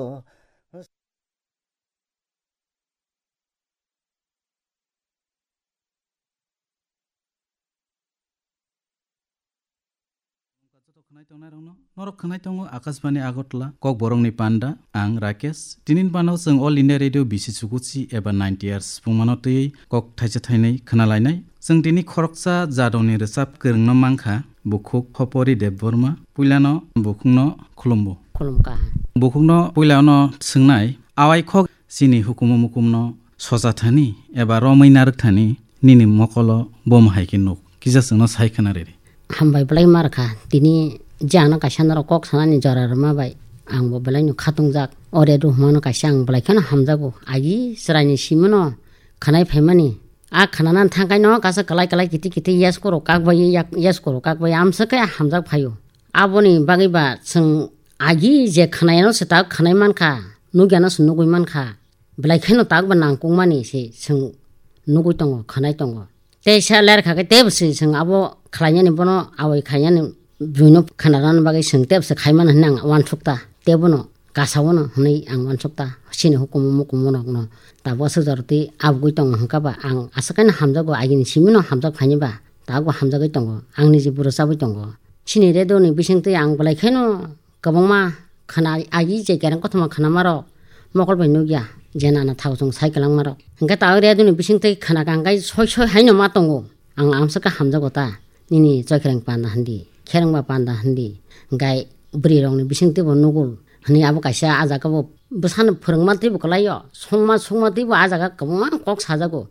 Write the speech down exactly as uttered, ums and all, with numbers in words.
Joto khwnai tongnai rokno, norok khwnai tongo Akashbani Agartala, Kokborokni panda, ang Rakesh. Tinin pano chwng All India Radio B C Chukuchi eba ninety R sipungmano twiwi kok thaisa thainwi khwnalainai. Chwng tini khoroksa jadoni rwchap kwrwngno mankha, bukhuk Hopori Debbarma, puilano bukhukno khulumbo. Khulumkha. Bukhukno puilano swngnai, awai khok chini hukumu mukumno socha thani eba romwi narwk thani nini mokolo bom hai khe nuk. Kisa chwngno sai khna riri. Hambai belai ma rwkha. Tini je ano kaisa norok kok sanani jora rwma bai ang bo belai no khatungjak. O radio hwnmano kaisa ang belai kheno hamjago. Agi chwraini simino khwnai phaimani. A khwnanani thangkaino kaisa kwlai kwlai kiti kiti yes koro kak bai yak-, yes koro kak bai amswk khe hamjak phaio. Aboni bagwi ba chwng agi je khwnai ano se ta khwnai mankha, nukya no se nugwi mankha. Belai kheno tak ba nangkukmani se chwng nugwi tongo, khwnai tongo. Tei sa ler kha khe tebo se chwng abo khlainani bono awai khlainani buino khwnarani bagwi chwng tebo se khaimani hwnwi ang uansukta. Tebono kasao no hwnwi ang uansukta. Chini hukumu mukumu rokno tabuk aswk jorotwi abugwi tongo hwnkha ba ang aswk khe no hamjago, agini simi no hamjak phaini ba tabukbo hamjagwi tongo. Ang niji bwrwi chabwi tongo. Chini radio ni bisingtwi ang belai kheno kwbangma khwna agi je kereng kothoma khwnamarok mokol bai nukya je nana thao chwng sai kwlangmarok. Hwnkhe ta o radio ni bisingtwi khwna kangkhai soi soi haino ma tongo. Ang amswk khe hamjago ta. Nini choikreng panda hindi, kherengba panda hindi. Hwnkhe bwrwi rokni bisingtwi bo nugul hwnwi abo kaisa ah jaga bo bwsano phwrwngma twibo kwlaio. Songma songma twibo ah jaga kwbangma kok sajago.